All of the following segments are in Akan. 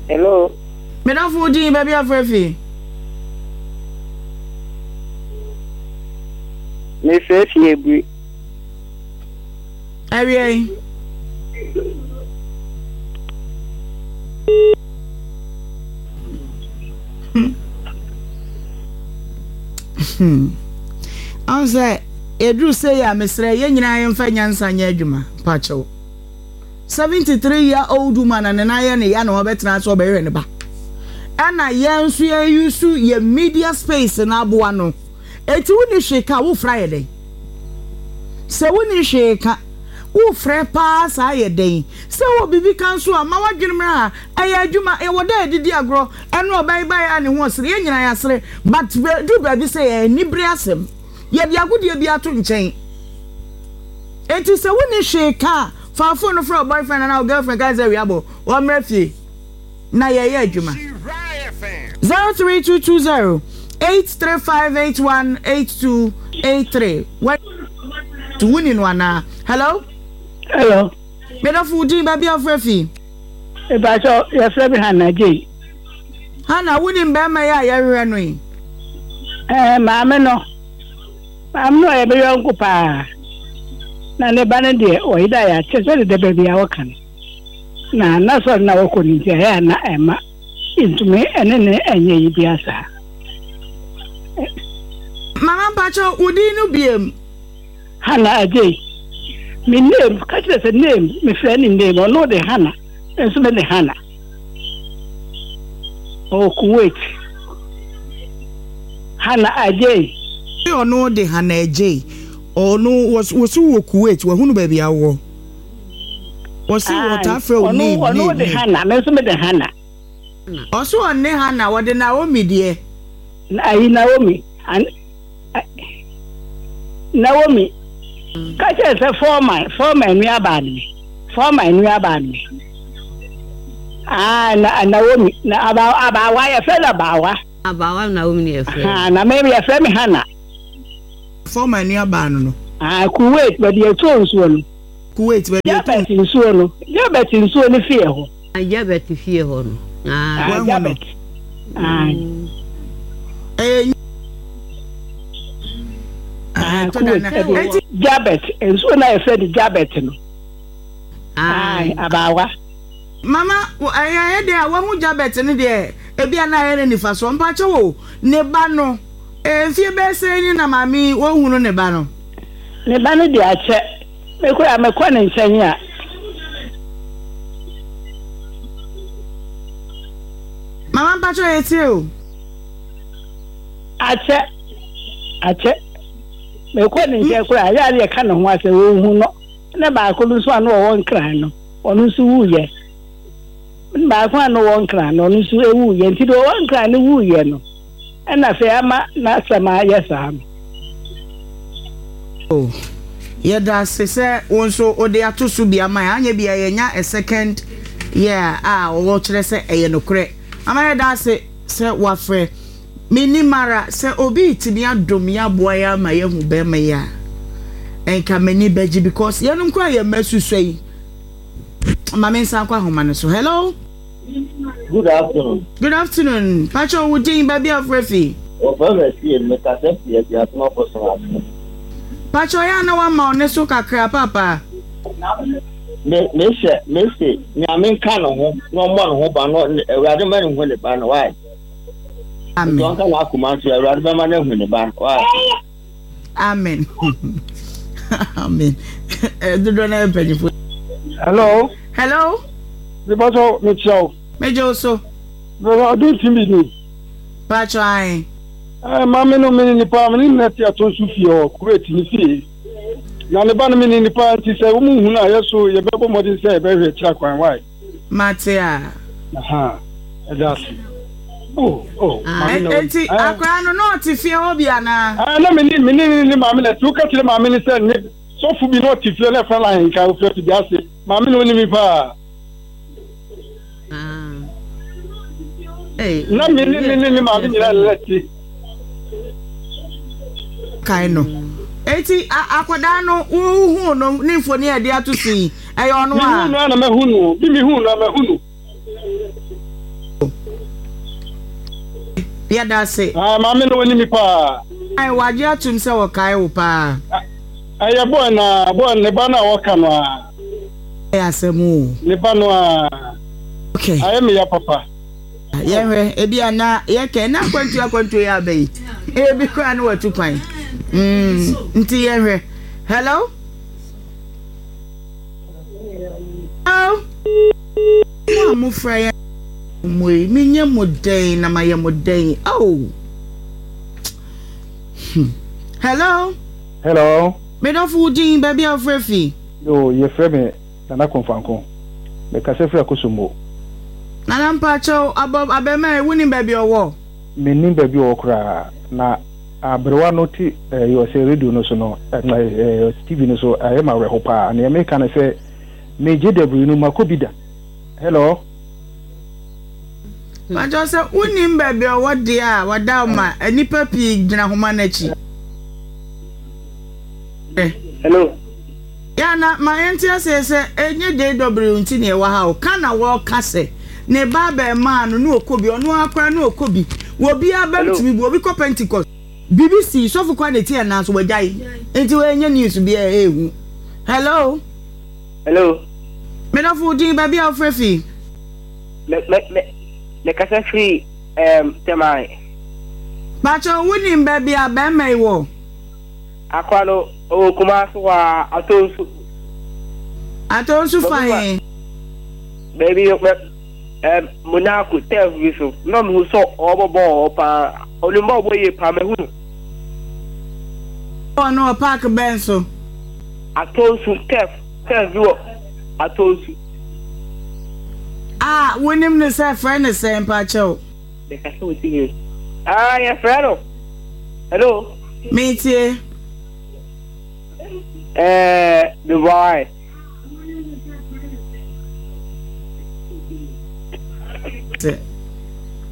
Hello. Me dɔfo wo din baabi afrɛ fi. Mefrɛ fi Aburi. Awia yi. Ɔn sɛ yɛduru sei a mesrɛ yɛn nyinaa yɛmfa nyansa nyɛ adwuma mpakyɛw. 73 year old woman a ne nan yɛ ne ya na ɔbɛtena ase ɔbɛhwɛ ne ba. Ɛna yɛn nso yɛn use yɛ media space no aboa no. Eti wonni hwee ka wofrɛ ayɛ dɛn? Sɛ wonni hwee ka wofrɛ paa saa yɛ dɛn? Sɛ wowɔ biribi ka nso a ma w'adwene mmra ha. Ɛyɛ adwuma, yɛwɔ da a yɛde di agorɔ. Ɛno ɔbaa yi baeɛ a ne ho ɔsere, yɛn nyinaa yɛasere. But ɛduru baabi sɛ ɛyɛ anibere asɛm. Yɛde agodie bi ato nkyɛn. Enti sɛ wonni hwee ka a, fa phone no frɛ wo boyfriend anaa wo girlfriend ka sɛ awia bɔ, wɔmmra fie na yɛyɛ adwuma. 03220 835 81 82 83 Wonni no anaa? Hello? Hello. Me dɔfo, wo din, baabi a wofrɛ fi? Mepakyɛw, yɛfrɛ me Hannah Jane. Hannah, wonim barima yi a yɛhwehwɛ no yi? Ɛɛ, maame no. Maame no ɔyɛ me yɔnko paa. Na ne ba no deɛ, ɔyera yɛ akyɛ sɛ deda baabi a wɔka no. Na n'asɔre no a wɔkɔ no nti, ɛyɛ a na ɛmma yɛntumi ne no nyɛ yi biara saa. Mama mpakyɛw, wo din no biom? Hannah Adjei. Me name, ka kyerɛ sɛ name, me frɛ ne name, ɔno de Hannah, me nso me de Hannah. Ɔwɔ Kuwait. Hannah Adjei. Ɔno de Hannah Adjei, ɔno wɔsi wɔ Kuwait, wahunu baabi a wowɔ. Wɔsi wɔtaa frɛ wo name, name, Ɔno de Hannah, me nso me de Hannah. Ɔso ɔnne Hannah, wɔde Naomi deɛ. Ayi Naomi. Naomi ka kyerɛ sɛ Foreman, Foreman nuabaa ne me. Foreman nuabaa ne me. Ah, na Naomi, na aba abaawa yɛfrɛ no abaawa. Abaawa Naomi ne yɛfrɛ no. Ah, na me yɛfrɛ me Hannah. Foreman nuabaa no no. Ah, Kuwait baabi yɛtɔɔ nsuo no. Kuwait baabi yɛtɔɔ. Jabet nsuo no, Jabet nsuo no fie hɔ. Jabet fie hɔ no. Ah, Jabet. Ah. Ɛyɛ Ah, Kuwait. Ɛdi Jabet nsuo na yɛfrɛ no Jabet no. Ah, abaawa. Mama, ɛyɛ ɛyɛ deɛ a wahu Jabet no deɛ ebi a na ayɛ ne nifa soɔ mpakyɛ wo ne ba no mfie bɛyɛ sɛn ni na maame yi wɔhunu ne ba no. Ne ba no deɛ akyɛ me koraa mekɔ ne nkyɛn a. Mama mpakyɛ yɛtie o. Akyɛ, akyɛ. Mekɔ ne nkyɛn koraa, ɛyɛ a na yɛka ne ho asɛm, ɔnhu no. Ɛna baako no nso a na ɔwɔ Nkran no, ɔno nso wuiɛ. Baako a na ɔwɔ Nkran no, ɔno nso wuiɛ. Nti deɛ ɔwɔ Nkran no wuiɛ no, ɛna afei ama n'asɛm ayɛ saa no. Oh, yɛda ase sɛ wo nso wode ato so bi ama yɛn. Anyɛ bi a yɛnya a second year a wɔkyerɛ sɛ ɛyɛ nokorɛ. Ama yɛda ase sɛ woafrɛ. Mennim ara, sɛ obi retumi adom yɛn aboa yɛn ama yɛahu bɛrima yi a, nka m'ani bɛgye because yɛnom koraa yɛn mma susua yi. Ma me nsan kɔ ahoma no so. Hello? Good afternoon. Good afternoon. Pacho, wo din baabi a wofrɛ fi? Wɔfrɛ me Asie, mekasa fi Aduasom Abosom ase. Pacho, yɛ a na wama wo ne so kakra papa. Me mehyɛ mese Nyame nka ne ho na ɔmmɔ ne ho ban na Awurade ma ne hu ne ba no why? Amen. Nti ɔnka n'akoma nso Awurade bɛma no ahu ne ba no why? Amen. Amen. Eh, dodoɔ no yɛ mpanyinfoɔ. Hello. Hello. Mepatɔ mekyia wo. Megye wo so. Mepatɔ ɔdun tv ni. Patro ae. Ɛɛ maame no mene nipa mene ne te ato nso fie hɔ Kuwait ne fie. Na ne ba no mene nipa nti sɛ wɔn hu no a yɛ so yɛbɛbɔ mmɔden sɛ yɛbɛhwɛ akyira kwan why. Mate a. Aha ɛda ase. Oh oh maame na Eti akwaraa no na ɔte fie hɔ bi anaa? Ɛɛ na mene mene ne ne maame na ti woka kyerɛ maame no sɛ ne sɔfo bi na ɔte fie na ɛfrɛ no ahenka ofiri afidie ase maame na onim paa. Na me ne ne ne ne maame nyinaa na ɛte. Kae no. Eti akwadaa no wohuu no ne mfoni a yɛde ato so yi. Ɛyɛ ɔno a. Mehu no a na mahu no. Bi mehu no a mahu no. Yɛda ase. Ah, maame no wɔnim me paa. Ae, wagye atom sɛ wɔkae wo paa. Ɛyɛ boy no a, boy no, ne ba no a wɔka no a. Ɛyɛ asɛm o. Ne ba no a. Okay. Ayɛ me ya papa. Yɛhwɛ, ebi a na yɛkɛ na akwantuo akwantuo yɛ aba yi. Ebi koraa na watu kwan. Mm, nti yɛhwɛ. Hello? Hello? Mo a mofra yɛn mo yi, menyɛ mo dɛn na mayɛ mo dɛn? Oh. Hmm. Hello? Hello. Medɔfo wo din, baabi a wofrɛ fi? Yo, yɛfrɛ me Nana Komfanko. Mekasa firi Akosombo. Nana mpakyɛw, abɔ abɛɛmaa yi, wonim baabi a ɔwɔ? Mennim baabi a ɔwɔ koraa. Na aberewa no te ɛɛ ɔsɛ radio no so no, ɛɛ TV no so, ɛyɛ me awerɛho paa. Nea meka ne sɛ, me JW no makɔ bi da. Hello? Mpakyɛw sɛ wonim baabi a ɔwɔ deɛ a, wada ma nnipa pii gyina homa no akyi. Hello. Yeah, na ma yɛnte aseɛ sɛ ɛnyɛ JW nti na ɛwɔ ha o. Ka na wɔka sɛ ne ba abɛɛmaa no ne ɔkɔ bi, ɔno ara koraa ne ɔkɔ bi. Wɔ biara bɛm tumi bu, obi kɔ Pentecost. Biribi sii, sɔfo koraa na ɛti yɛn nan so, wagyae. Nti wei ɛnyɛ news bi a ɛɛhu. Hello. Hello. Me dɔfo wo din, baabi a wofrɛ fi? Me me me me kasa firi ɛɛm Tɛmae. Pakyɛ wonim baabi a bɛɛma yi wɔ? Akora no ɔwɔ Kumasi hɔ ara, Atonsu. Atonsu fa he? Baabi mɛ ɛm Monaco turf bi so. Na mehu sɛ ɔrebɔ bɔɔl wɔ hɔ paa. Ɔnim bɔɔl bɔ yie paa, mahu no. Bɔɔl no wɔ park bɛn so? Atonsu turf, turf bi wɔ Atonsu. A wonim no sɛ frɛ no sɛn mpakyɛw? Mekasa wɔ TV so. Ah, yɛfrɛ no. Hello. Metie. Ɛɛ, Dubai.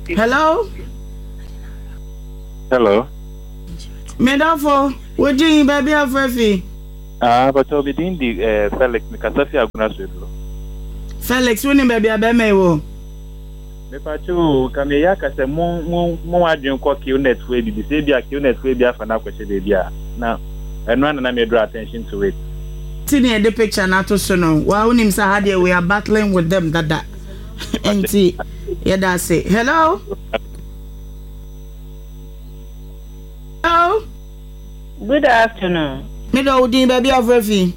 Hello. Hello. Medafo, wo din baabi afrɛ fi? Ah, bàtà mi din di eh, Felix, mi kasa fi Agona Sueduro. Felix, wo ni baabi a bɛrima yi wɔ? Mepakyɛw o, nka meyɛ aka sɛ mo mo mo adwene kɔ Qnet fo ebi sɛ ebi a Qnet fo ebi afa no akɔhyɛ baabi a na ɛno ara na na me draw attention to it. Ti na yɛde picture no ato so no, waa wonim sɛ ha deɛ we are battling with them dada nti yɛda ase. Hello? Hello? Good afternoon. Me dɔ wo din baabi a wofrɛ fi?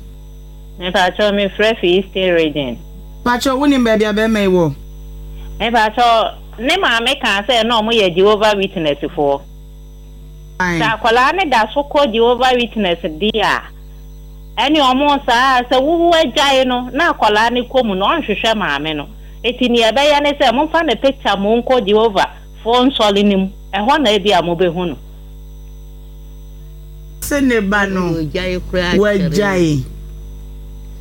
Mepakyɛw me frɛ fi Eastern region. Pakyɛw wo nim baabi a bɛɛma yi wɔ? Mepakyɛw ne maame kaa sɛ na ɔmo yɛ Jehovah Witness foɔ. Sɛ akwadaa no da so kɔ Jehovah Witness deɛ a, ɛne ɔmo saa sɛ wo agyae no na akwadaa no kɔ mu no ɔnhwehwɛ maame no. Eti nea ɛbɛyɛ ne sɛ momfa ne picture mo nkɔ Jehovah foɔ nsɔre no mu, ɛhɔ na ebia mobɛhu no. Se ne ba no wagyae.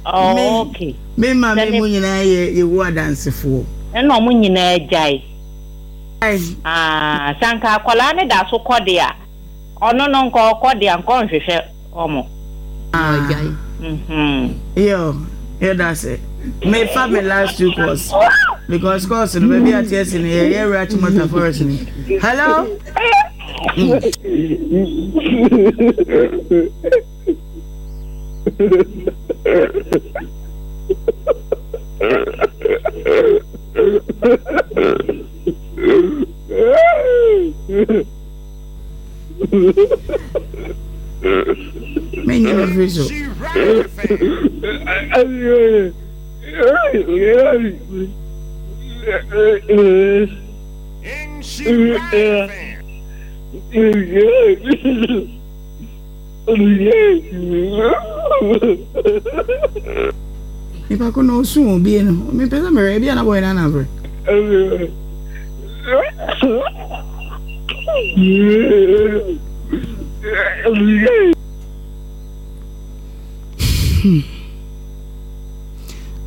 Me me maame mu nyinaa yɛ Yehowa Adansefoɔ. Ɛna ɔmo nyinaa gyae. Ah, sɛ anka akwadaa no da so kɔ de a, ɔno no nka ɔkɔ de a nka ɔnhwehwɛ ɔmo. Ah. Yo, yɛda ase. Mefa me last two calls because calls no baabi a teɛ si no yɛyɛ wura Achimota forest ni. Hello. Menye me firi so. Nipa ko na osu o bie no. Mepɛ sɛ mehwɛ ebi a na bɔyɛ na anabrɛ.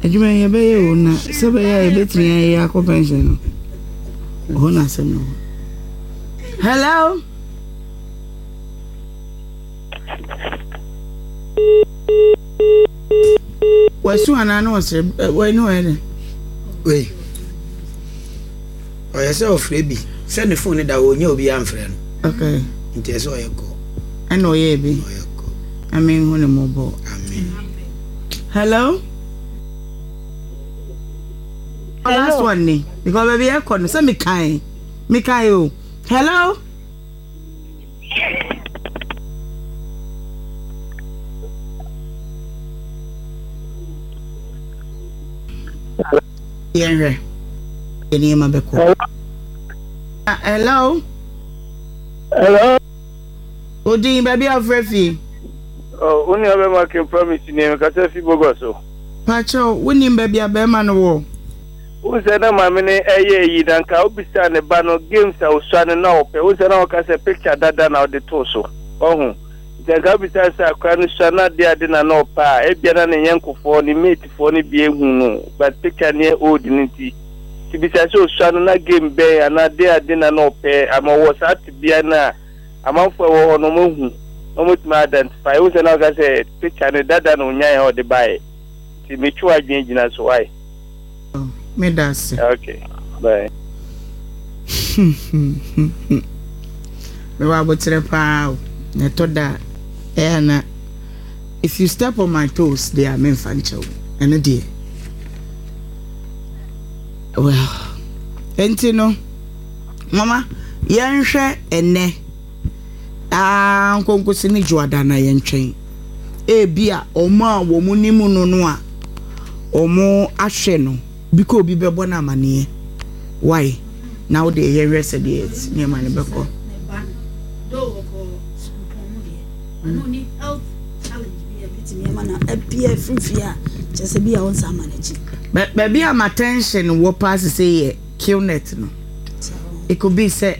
Adwuma yi yɛbɛyɛ o na sɛ bɛyɛ a yɛbɛtumi ayɛ akɔ pension no. Hɔ na asɛm no wɔ. Hello. Wasu anaa na ɔsere wei ne ɔyɛ dɛn? Wei ɔyɛ sɛ ɔfrɛ bi sɛ ne phone no da hɔ ɔnya obi amfrɛ no. Okay. Nti ɛsɛ ɔyɛ kɔ. Ɛna ɔyɛ bi. Ɔyɛ kɔ. Amen hu ne mmɔbɔ. Amen. Hello. Hello. Last one ni because baabi ɛkɔ no sɛ mekae mekae o. Hello. Yɛnhwɛ yɛ nneɛma bɛkɔ. Hello. Hello. Odin baabi a wofrɛ fi. Oh, wo nua bɛma King Promise ni mekasa fi Bogos o. Pakyɛw, wonim baabi a bɛrima no wɔ? Wohu sɛ na maame no ɛyɛ eyi na nka wobisaa ne ba no games a osua no na ɔpɛ. Wohu sɛ na ɔka sɛ picture dada na ɔde too so. Wahu? Nti anka wobisaa sɛ akora no sua no ade ade na na ɔpɛ a, ebia na ne nyɛnkofoɔ, ne matefoɔ no bi ahu no but picture no yɛ old no nti. Nti bisa sɛ osua no na game bɛn anaa ade ade na na ɔpɛ ama ɔwɔ saa tebea no a amanfoɔ a ɛwɔ hɔ no wɔahu na wɔatumi identify. Wohu sɛ na ɔka sɛ picture no dada na onyaeɛ a ɔde baeɛ. Nti metwe w'adwene gyina so why? Meda ase. Okay, bye. Mewɔ aboterɛ paa o. Na ɛtɔ da a, ɛyɛ a na if you step on my toes deɛ a memfa nkyɛ wo. Ɛno deɛ. Well, enti no, mama yɛnhwɛ ɛnɛ. Aa nkonkosi ne dwoada na yɛntwɛn. Ebia wɔn a wɔn nim no no a wɔn ahwɛ no bi kɔ obi bɛbɔ no amaneɛ. Why? Na wo deɛ yɛhwɛ sɛdeɛ nneɛma no bɛkɔ. Baabi a m'attention wɔ paa sese yɛ Qnet no. It could be sɛ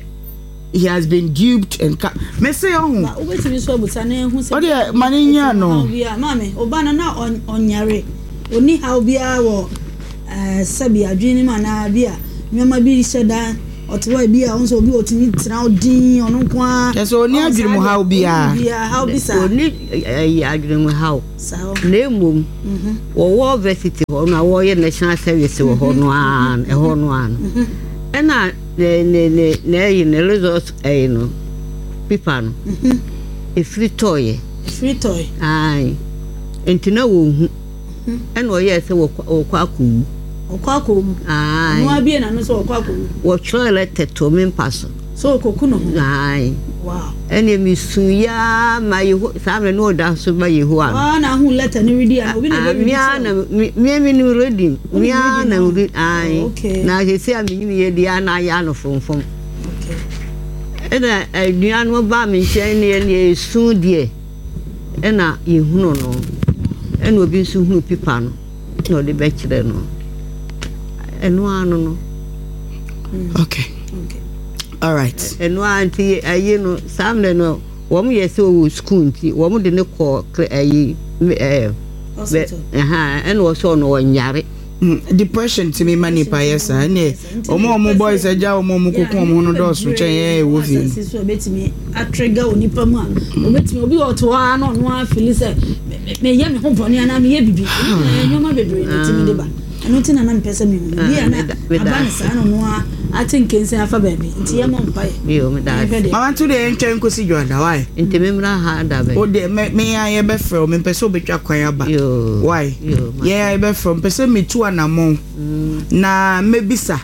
he has been duped and ka me se ɔho. Ba wobɛtumi nso abusa na ehu sɛ. Ɔdeɛ ma ne nya no. Maame ɔba no na ɔnyare ɔni haw biara wɔ ɛɛ sɛbi adwene no mu anaa bi a nneɛma bi hyɛ da ɔte hɔ ebi a ɔno nso obi ɔtumi tena hɔ dinn ɔno nko ara. Kyɛ sɛ ɔni adwene mu haw biara. Ɔni haw bi saa. Ɔni ɛyi adwene mu haw. Na mmom wɔwɔ varsity hɔ no a wɔyɛ national service wɔ hɔ no ara ɛhɔ no ara no ɛna. Ne ne ne n'ayi ne result ɛyi no pipa no efiri tɔɔyɛ. Efiri tɔɔyɛ. Ayi nti na wɔn hu ɛna ɔyɛɛ sɛ wɔkɔ wɔkɔ akɔwu. Ɔkɔ akɔwu. Ayi ɔno abie n'ano sɛ ɔkɔ akɔwu. Wɔtwerɛ lɛtɛ too me mpa so. Sɛ ɔkɔku ne ho. Ayi. Wow. Ɛnna mi su yaa ma yeho saa mmerɛ no ɔda so ba yehowa no. Waa na ahu lɛtɛ no redi ana obi na ɛbɛ redi kyerɛ. Na mi mi mi redi mi ara na mi ayi oh, na sisi a mi nyim yɛ di ara na ayɛ ano frɔmfrɔm. Ɛna nua no ba mi nkyɛn ne yɛ ne esu deɛ ɛna yɛhunu no ɛna obi nso hunu pipa no na ɔde bɛkyerɛ no ɛno ano no. Okay. Okay. All right. Ɛno ara nti ayi no saa mmerɛ no wɔn yɛ sɛ ɔwɔ sukuu nti wɔn de no kɔ ayi ɛɛ ɛna ɔsɛ ɔno ɔnyare. Hmm, depression tumi ma nipa yɛ saa ɛnna wɔn a wɔn boys agya wɔn a wɔn koko wɔn ho no dɔɔso kyɛn yɛn a ɛwɔ fie no. So ebetumi atrigger wɔ nipa mu a obetumi obi wɔ ɔte hɔ ara na ɔno ara fili sɛ meyɛ me ho bɔne anaa meyɛ bibi nneɛma bebree na etumi de ba. Ɛno nti na na mepɛ sɛ mehu no. Bi a na aba no saa na ɔno ara ate nkensen afa baabi. Nti yɛmmɔ mpaeɛ. Yo, meda ase. Yɛnhwɛ deɛ. Mama nto deɛ yɛntwɛn nkosi dwoada why? Nti me mmra ha da bɛn? Wo deɛ me me ara yɛbɛfrɛ wo mempɛ sɛ wobɛtwa kwan aba. Yoo. Why? Yoo, mate. Yɛn ara yɛbɛfrɛ wo mepɛ sɛ metu anamɔn na mɛbisa.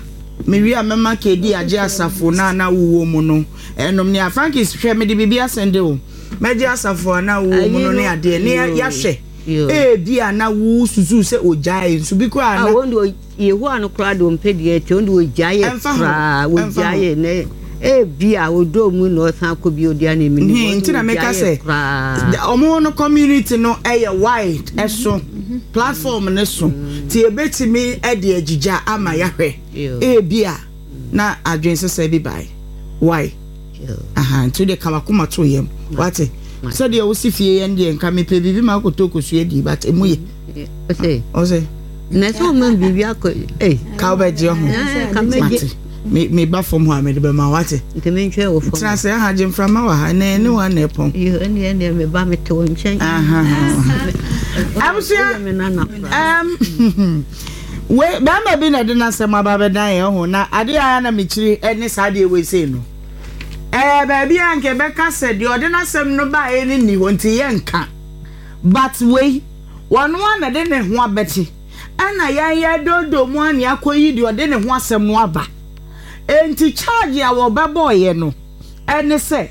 Mewie a mɛma KD agye asafo no a na wowɔ mu no ɛnom ne a. Frankis hwɛ mede biribi asɛnde wo. Mɛgye asafo a na wowɔ mu no ne adeɛ ne yɛahwɛ. Ebia na wususuw sɛ ogyaee nso bi koraa na. Wɔn de Yehowa no koraa de ɔmpɛ deɛ ɛte wɔn de ogyaee koraa ogyaee na ebia odɔ mu na ɔsan kɔ bi odi ana emi ni wɔn de ogyaee koraa. Wɔn no community no ɛyɛ wide ɛso platform no so ti ebetumi ɛde agyigya ama yahwɛ ebia na adwene sesa bi bae why. Aha nti wode ka wakoma to yam wate sɛdeɛ wosi fie yɛn deɛ nka mepɛ biribi ma akɔtɔ kosua di but ɛmu yɛ ɔsɛ ɔsɛ na sɛ ɔma biribi akɔ ei ka wobɛgye ho mate. Me me ba fam hɔ a mede bɛma wo wate. Nti mentwɛn wɔ fam. Tena ase aha gye mframa wɔ ha ɛnɛ ɛne wɔn na ɛpɔn. Iyo ɛne ɛne me ba mete wo nkyɛn. Abusua ɛm wei bɛrima bi na ɛde n'asɛm aba abɛdan yɛn ho na adeɛ a na mekyiri ɛne saa adeɛ wei sei no. Ɛɛ baabi a nka ɛbɛka sɛ deɛ ɔde n'asɛm no baeɛ no nni hɔ nti yɛnka but wei wɔn a na ɛde ne ho abɛte. Ɛna yɛn yɛredɔɔdɔɔ mu ara na yɛakɔyi deɛ ɔde ne ho asɛm no aba. Enti charge a wɔbɛbɔeɛ no ne sɛ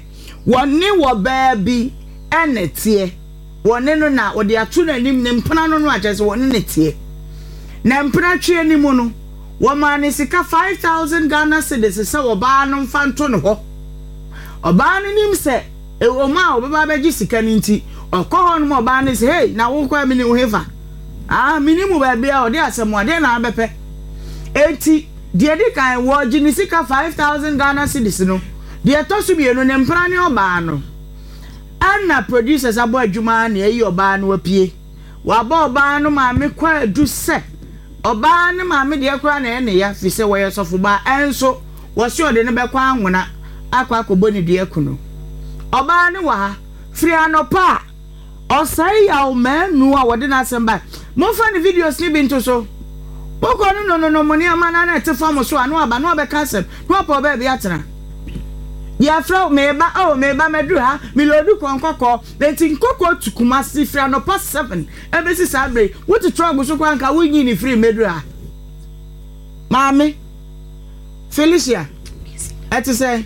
wɔne ɔbaa bi na ɛteɛ, wɔne no na ɔde ato n'anim, ne mpena no no a kyerɛ sɛ wɔne no teɛ. Na mpenatweɛ no mu no, wɔmaa no sika 5,000 Ghana cedis sɛ ɔbaa no mfa nto ne hɔ. Ɔbaa no nim sɛ ɛwɔ mu a ɔbɛba abɛgye sika no nti, ɔkɔ hɔ nom ɔbaa no sɛ, hey, na wokɔ a menim wo hefa? Ah, mennim wo baabi a ɔde asɛm a, deɛn na abɛpɛ? Enti, deɛ ɛdi kan, wɔregye ne sika 5,000 Ghana cedis no. Deɛ ɛtɔ so mmienu, ne mpena ne ɔbaa no. Ɛna producers abɔ adwuma na ayi ɔbaa no apue. Wɔabɔ ɔbaa no maame kwaadu sɛ, ɔbaa no maame deɛ koraa na ɛyɛ ne ya, firi sɛ wɔyɛ sɔfobaa, ɛnso wɔse ɔde no bɛkɔ anwona akɔ akɔbɔ ne dua aku no. Ɔbaa no wɔ ha, firi anɔpa a. Ɔsɛe yaw manu a wɔde n'asɛm bae. Momfa ne videos no bi nto so. Wokɔ no no no no mo nneɛma no na ɛte fam so a na waba na wabɛka asɛm na wapɛ ɔbaabi atena. Yɛfrɛ wo meba oh meba maduru ha meloodu kɔ nkɔkɔɔ enti nkɔkɔɔ tu Kumasi firi anɔpa 7 ɛbɛsi saa bere yi wote trɔg so koraa nka wonyi ne firi mmɛduru ha. Maame. Felicia, ɛte sɛn?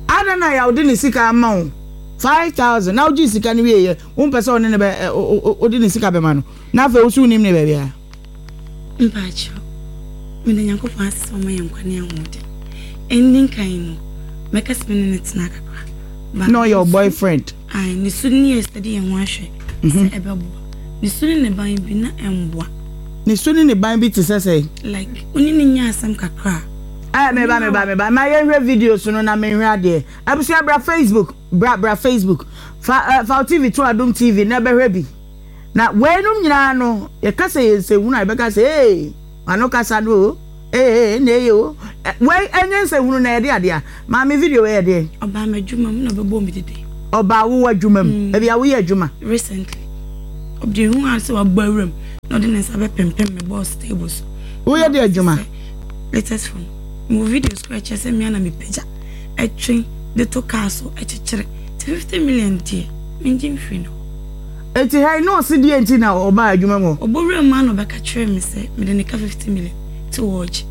Adɛn na Yaw de ne sika ama wo 5000 na wogyee sika no wieeɛ wompɛ sɛ ɔne ne bɛ wode ne sika bɛma no na afei wo so wonim ne baabi a? Mpakyɛw, meda Nyankopɔn ase sɛ ɔma yɛn nkwa ne ahoɔden. Ɛndi nkan no, mɛka sɛ me ne no tena kakra. Na ɔyɛ wo boyfriend? Ae, ne su ne yɛ sɛ de yɛn ho ahwɛ sɛ ɛbɛboa. Ne su ne ne ban bi na ɛmboa. Ne su ne ne ban bi te sɛ sɛn? Like wo ne no nya asɛm kakra a. Ɛɛ meba meba meba ma yɛnhwɛ videos no na menhwɛ adeɛ. Abusua bra Facebook bra bra Facebook fa eh, fa wo TV to Adom TV na bɛhwɛ bi. Na weinom nyinaa no yɛka sɛ yɛ nsɛnhunu a yɛbɛka sɛ ee ano kasa no o ee na eye o. Wei ɛnyɛ nsɛnhunu na yɛde adeɛ a. Maame video wei yɛ deɛn? Ɔbaa m'adwuma mu na ɔbɛbɔɔ me dede. Ɔbaa wo adwuma mu? Baabi a woyɛ adwuma? Recently. Ɔde hu ara sɛ wabɔ awura mu na ɔde ne nsa bɛpempem me boss table so. Woyɛ de adwuma? Latest phone. Mewɔ videos koraa ɛkyerɛ sɛ me ara na mepagya, ɛtwe de to car so ɛkyekyere. Nti 50 million deɛ mengye mfiri ne hɔ. Enti ha yi na ɔse deɛn nti na ɔbaa adwuma mu hɔ? Ɔbɔ wura mu ara na ɔbɛka kyerɛɛ me sɛ mede ne ka 50 million nti wɔregye.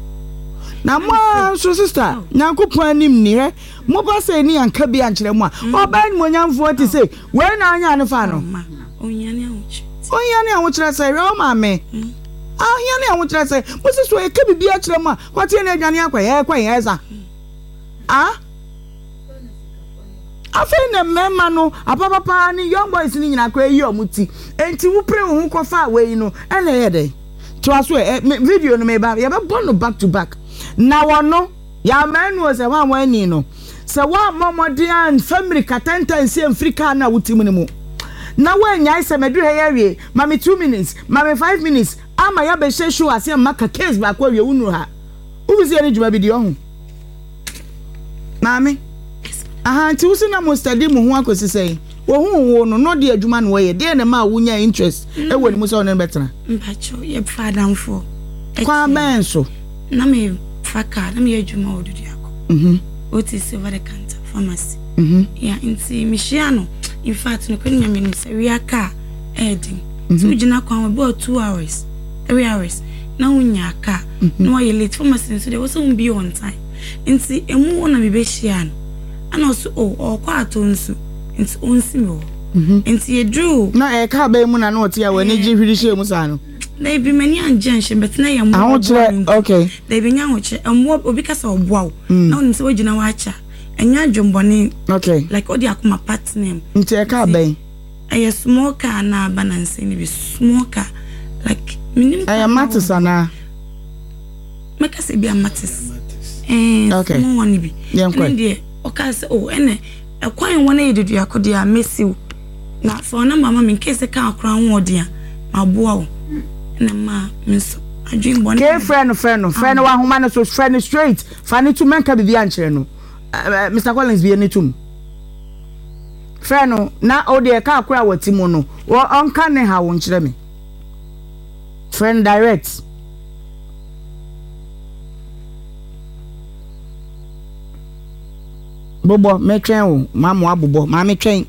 Na mo ara nso sister Nyankopɔn anim ni hwɛ mo ba sɛ ni anka bi ankyerɛ mo a ɔbaa animuonyamfoɔ te sei wei na anya ne fa no Ohia ne ahokyerɛ ohia ne ahokyerɛ sɛ hwɛ wo maame ahia ne ahokyerɛ sɛ mo si so ɛka biribi akyerɛ mo a kɔteɛ ne adwane akɔ yɛ kɔ yɛ ɛsa ah afei na mmarima no apapapa ne young boys no nyinaa kɔ ayi ɔmo ti enti wopere wo ho kɔfa wei no ɛna ɛyɛ dɛn Toa so ɛ, me video no meba, yɛbɛbɔ no back to back. Na wɔno, yɛammaa nu o sɛ hwan hwan ni no, sɛ woammɔ mmɔden amfa mmirika tɛntɛn nsi amfiri kaa no a wote mu no mu, na woannyae sɛ maduru ha yi awie, ma me 2 minutes, ma me 5 minutes, ama yɛabɛhyɛ show ase amma ka case baako awie, wonnuru ha. Wofi sɛ yɛne dwuma bi di, ɔho. Maame, aha, nti wo se na mo study mo ho akɔsi sɛn? Ohuu wo no, na ɔde adwuma na ɔyɛ. Deɛn na ɛmaa wonyaa interest wɔ ne mu sɛ wo ne no bɛtena? Mpakyɛw, yɛfaa adamfoɔ. Kwan bɛn so? Na mefa car, na meyɛ adwuma wɔ Duduako. OTC over the counter pharmacy. Yeah, nti mehyia no. In fact, nokorɛ ne Nyame nim sɛ wia car ɛyɛ den. Sɛ wogyina kwan ho ebi wɔ 2 hours, 3 hours na wonyaa car na wayɛ late. Pharmacy nso deɛ ɛwɔ sɛ wombie on time. Nti emu hɔ na mebɛhyiaa no. Ɛna ɔse oh, ɔɔkɔ atɔ nsu. Nti ɔnsi me hɔ. Nti yɛduruu. Na ɛyɛ kaa bɛn mu na na ɔte a w'ani gye hwiri hyɛɛ mu saa no? Dabi, m'ani angye anhyɛ mu, but na ɛyɛ mmoa a ɔboa me nti. Okay. Dabi, ɛnyɛ ahokyerɛ. Mmoa, obi ka sɛ ɔboa wo, na wonim sɛ woagyina hɔ akyɛ a, ɛnyɛ adwemmɔne. Okay. Like wode akoma pa tena mu. Nti ɛyɛ kaa bɛn? Ɛyɛ small car na aba nansa yi no bi, small car. Like, menim car. Ɛyɛ Matis anaa? Mɛka sɛ ebia Matis. Ɛɛ, okay. Small one bi. Yɛnkɔ. Ɛno deɛ, ɔkaa sɛ, oh, ɛnɛ. Ɛkwan a wɔn ayɛ deduako deɛ a mɛsi wo na fa wo number ma me in case sɛ car koraa ho ɔden a maboa wo ɛna ɛmaa me nso. Adwen bɔne. Kee frɛ no frɛ no frɛ no wɔ ahoma no so frɛ no straight fa no tum mɛnka biribi ankyerɛ no Mister Collins bie ne tum frɛ no na o deɛ kaa koro a wɔte mu no ɔnka ne haw nkyerɛ me frɛ no direct. Bobɔ mɛtwɛn o ma mo abobɔ maame twɛn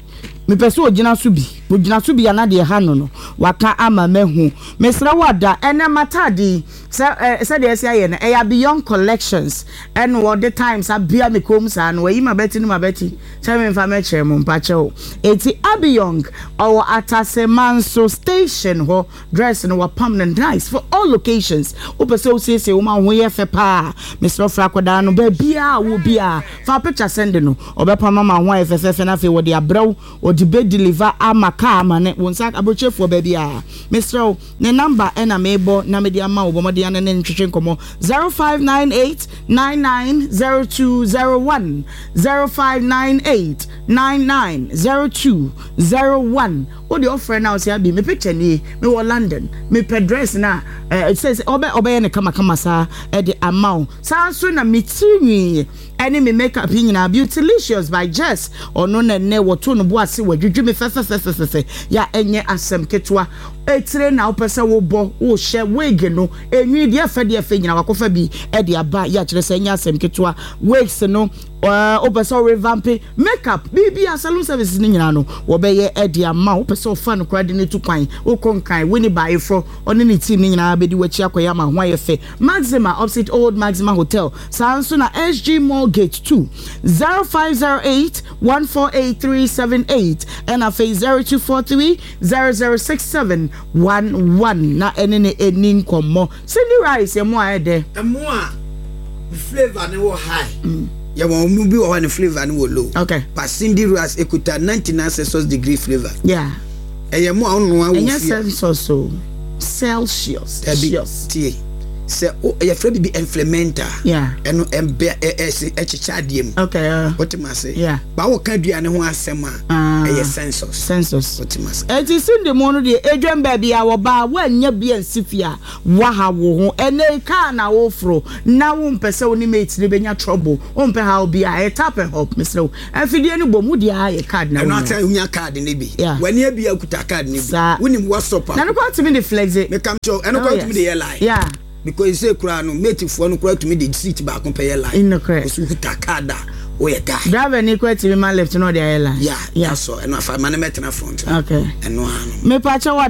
mepɛ sɛ ogyina so bi ogyina so bi a na deɛ ɛha no no waka ama mahu mesrɛ wo ada ɛnɛ m'ataade yi sɛ ɛ sɛdeɛ ɛsi ayɛ no ɛyɛ Abiyɔn collections ɛna wɔde times abia me kɔn mu saa no wayi m'abati no m'abati sɛ memfa mɛkyerɛ mo mpakyɛw eti Abiyɔn ɔwɔ Atasemanso station hɔ Dress no wapam no nice for all locations wopɛ sɛ wosiesie wo ma wo ho yɛ fɛ paa mesrɛ wo frɛ akwadaa no baabiaa a wɔ biaa fa picture send no ɔbɛpam ama wo ho ayɛ fɛfɛɛfɛ na afei wɔde abrɛ wo ɔde bɛ deliver ama car ama ne wo nsa abrokyefoɔ baabiaa mesrɛ wo ne number ɛna mebɔ na mede ama wo bɔ mmɔden ana ne ntwetwe nkɔmmɔ 0598 990201 0598 990201 Wo deɛ ɔfrɛ no a ɔsɛ abi me picture nie me wɔ London me pɛ dress no a eh, sɛ sɛ ɔbɛ ɔbɛyɛ no kama kama saa ɛde ama wo saa nso na me tiri nwi ɛne me makeup yi nyinaa Beautylicious by Jess ɔno na ɛnɛ wɔto no bo ase wɔadwidwi me fɛfɛfɛfɛfɛ ya ɛnyɛ asɛm ketewa etire na wopɛ sɛ wobɔ wohyɛ wig no enwi deɛ ɛfɛ deɛ ɛfɛ nyinaa wakɔfa bi ɛde aba yɛ akyerɛ sɛ ɛnyɛ asɛm ketewa wigs no wopɛ sɛ worevampe Makeup, biribiara, salon services no nyinaa no, wɔbɛyɛ de ama wo. Wopɛ sɛ ɔfa no koraa de no tu kwan, wokɔ Nkran, Winnie ba ayeforɔ, ɔne ne team no nyinaa bɛdi w'akyi akɔyɛ ama ho ayɛ fɛ. Maxima, opposite Old Maxima Hotel, saa ara nso na SG Mall Gate 2, 0508 148 378, ɛna afei 0243 0067 11 na ɛne no ɛni nkɔmmɔ. Cindy Rice, ɛmo a ɛdɛ. Ɛmo a ne flavour no wɔ high. Yɛ wɔn mu bi wɔ hɔ a ne flavour no wɔ low. Okay. But Cindy Rice ekuta 99 Celsius degree flavour. Yeah. Ɛyɛ mo a ɔnoa wɔ fie. Ɛnyɛ Celsius o. Celsius. Dabi tie. Sɛ o yɛfrɛ bibi inflementa. Yeah. Ɛno ɛbɛ ɛ ɛ ɛkyekyɛ adeɛ mu. Okay. Wote ma ase. Yeah. Ba wo ka aduane ho asɛm a. Ah. Ɛyɛ census. Census. Wote ma ase. Eti Cindy mo no deɛ edwam baabi a wɔba a woannya bi ansi fie a Woaha wo ho ɛnɛ yi car na woforo na wompɛ sɛ wo ne mate no bɛnya trouble wompɛ haw biaa ɛyɛ tap and hop mesrɛ wo afidie no bom wode ara yɛ card na Ɛno wonya. ata wonya card no bi Yeah. w'ani abia kuta card no bi Saa. wonim WhatsApp a Na no koraa tumi de flexe. Meka kyerɛ wo ɛno Oh koraa yes. wotumi de yɛ line Yeah. because sɛ koraa no mate foɔ no koraa tumi de seat baako pɛ yɛ line Nokorɛ. because wokuta card a woyɛ guy. Driver ni koraa tumi ma lift na ɔde ayɛ line. Yeah, Yeah. that's all ɛno afa ma no mɛtena front Okay. ɛno ara no. Mepakyɛ wo ada.